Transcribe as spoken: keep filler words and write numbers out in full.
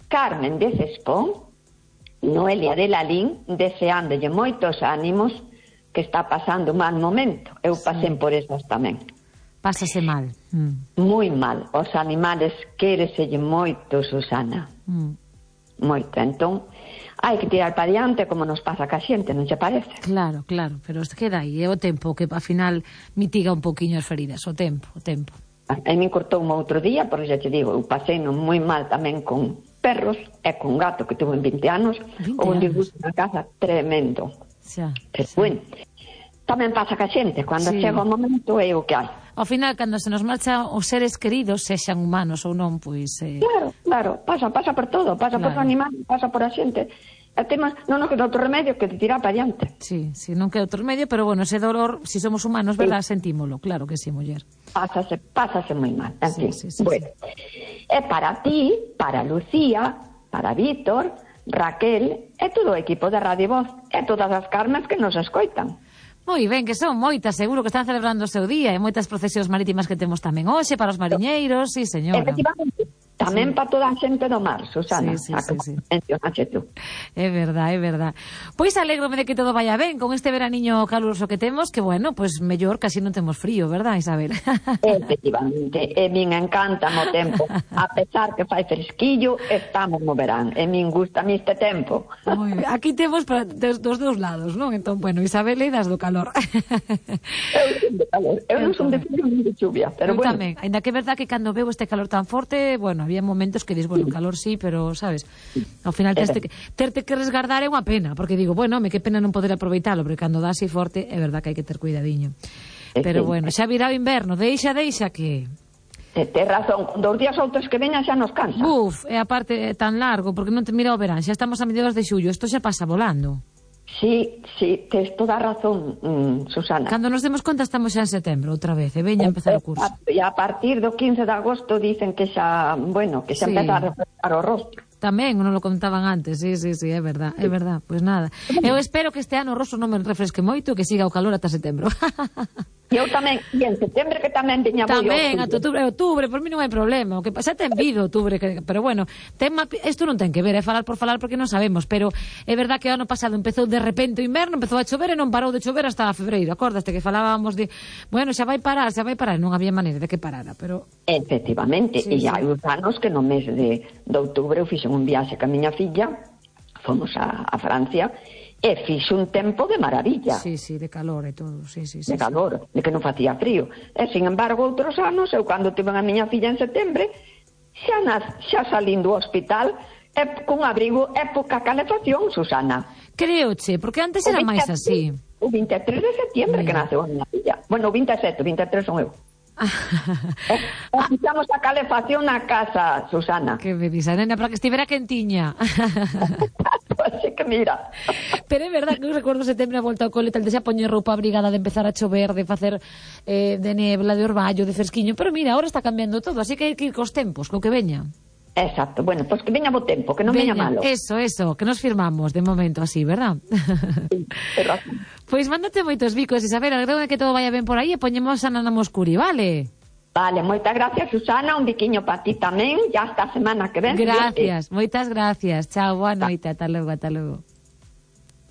Carmen de Cespón, Noelia de Lalín, deseándolle moitos ánimos, que está pasando un mal momento. Eu pasei por esas tamén. Pásase mal. Mm. Moi mal. Os animales quéreselle moito, Susana. Mm. Moito. Entón, hai que tirar para diante como nos pasa ca xente, non che parece? Claro, claro, pero queda aí, é o tempo que ao final mitiga un poquinho as feridas, o tempo, o tempo. A mí cortou un outro día, porque xa te digo, eu pasei non moi mal tamén con perros e con gato que tuvo en vinte anos, ou un disgusto na casa tremendo. Xa, pero xa. bueno, tamén pasa ca xente, cando sí. chega o momento é o que hai. Ao final, cando se nos marchan os seres queridos, sexan humanos ou non, pois... Eh... Claro, claro, pasa, pasa por todo, pasa claro. por os animales, pasa por a xente. E temas, non nos queda outro remedio que te tirar para diante. Sí, sí, non queda outro remedio, pero bueno, ese dolor, si somos humanos, verdad, sí. sentímolo, claro que sí, muller. Pásase, pásase moi mal, en sí, fin. Sí, sí, bueno, sí. E para ti, para Lucía, para Víctor, Raquel, e todo o equipo de Radio Voz, e todas as Carmes que nos escoitan. Moi ben, que son moitas, seguro que están celebrando o seu día, e moitas procesións marítimas que temos tamén hoxe, para os mariñeiros, sí, señora. Efectivamente, tamén sí. para toda a xente do mar, Susana, sí, sí, sí, sí. mencionaxe tú. É verdad, é verdad. Pois alégrome de que todo vaya ben con este veraniño caluroso que temos, que bueno, pois mellor casi non temos frío, verdad, Isabel? Efectivamente, e min encanta o tempo, a pesar que fai fresquillo, estamos no verán, e min gusta mi este tempo. Moi ben. Aquí temos para, dos, dos dous lados, non? Entón, bueno, Isabel e das do calor. Eu son de calor, eu, eu non son de frío ni de chuvia, pero eu bueno. Tamén, ainda que é verdad que cando veo este calor tan forte, bueno, había momentos que dis, bueno, calor sí, pero, sabes, ao final terte que, terte que resgardar é unha pena, porque digo, bueno, me que pena non poder aproveitalo, porque cando dá así forte, é verdad que hai que ter cuidadiño. Pero bueno, xa virá o inverno, deixa, deixa que... Tens razón, con dous días outros que veñan xa nos cansa. Buf, e aparte é tan largo, porque non te mira o verán, xa estamos a mediados de xullo, isto xa pasa volando. Sí, sí, tens toda a razón, mm, Susana. Cando nos demos conta estamos xa en setembro outra vez, e veña a empezar o curso. E a partir do quince de agosto dicen que xa, bueno, que xa sí. empeza a refrescar o rostro. Tamén, non lo contaban antes, sí, sí, sí, é verdad, é verdad, pois pues nada. Eu espero que este ano o rostro non me refresque moito, que siga o calor ata setembro. E eu tamén, e en setembro que tamén veña moi Tamén, ata outubro, outubro, por mí non hai problema, o que xa ten vido outubro, que, pero bueno, tema, isto non ten que ver, é falar por falar porque non sabemos, pero é verdad que o ano pasado empezou de repente o inverno, empezou a chover e non parou de chover hasta febreiro, acordaste que falábamos de, bueno, xa vai parar, xa vai parar, non había maneira de que parara, pero... Efectivamente, sí, e sí. hai uns anos que no mes de, de outubro eu fixen un viaxe ca miña filla, fomos a, a Francia, e fixe un tempo de maravilla. Sí, sí, de calor e todo, sí, sí, sí. De calor, sí. De que non facía frío. E, sin embargo, outros anos, eu cando tive a miña filla en setembro, xa, nas, xa salín do hospital, e con abrigo e poca calefacción, Susana. Creoche, porque antes era máis así. O vinte e tres de setembro que naceu a miña filla. Bueno, o vinte e sete, o vinte e tres son eu. eh, Fixamos a calefacción na casa, Susana. Que me disa, nena, para que estivera quentiña. Así que mira. Pero é verdad que eu recordo setembro a volta ao cole, tal de xa poñer roupa abrigada, de empezar a chover, de facer eh, de nebla, de orballo, de fresquiño. Pero mira, agora está cambiando todo, así que hai que ir cos tempos, co que veña. Exacto, bueno, pois pues que veña bo tempo, que non veña, veña malo. Eso, eso, que nos firmamos de momento así, verdad? Sí, é razón. Pois pues mándate moitos bicos, Isabel, agrego que todo vaya ben por aí e poñemos a Nana Moscuri, vale? Vale, moitas gracias, Susana, un biquiño para ti tamén, ya hasta a semana que ven. Gracias, moitas gracias, chao, boa noite, ata logo, ata logo.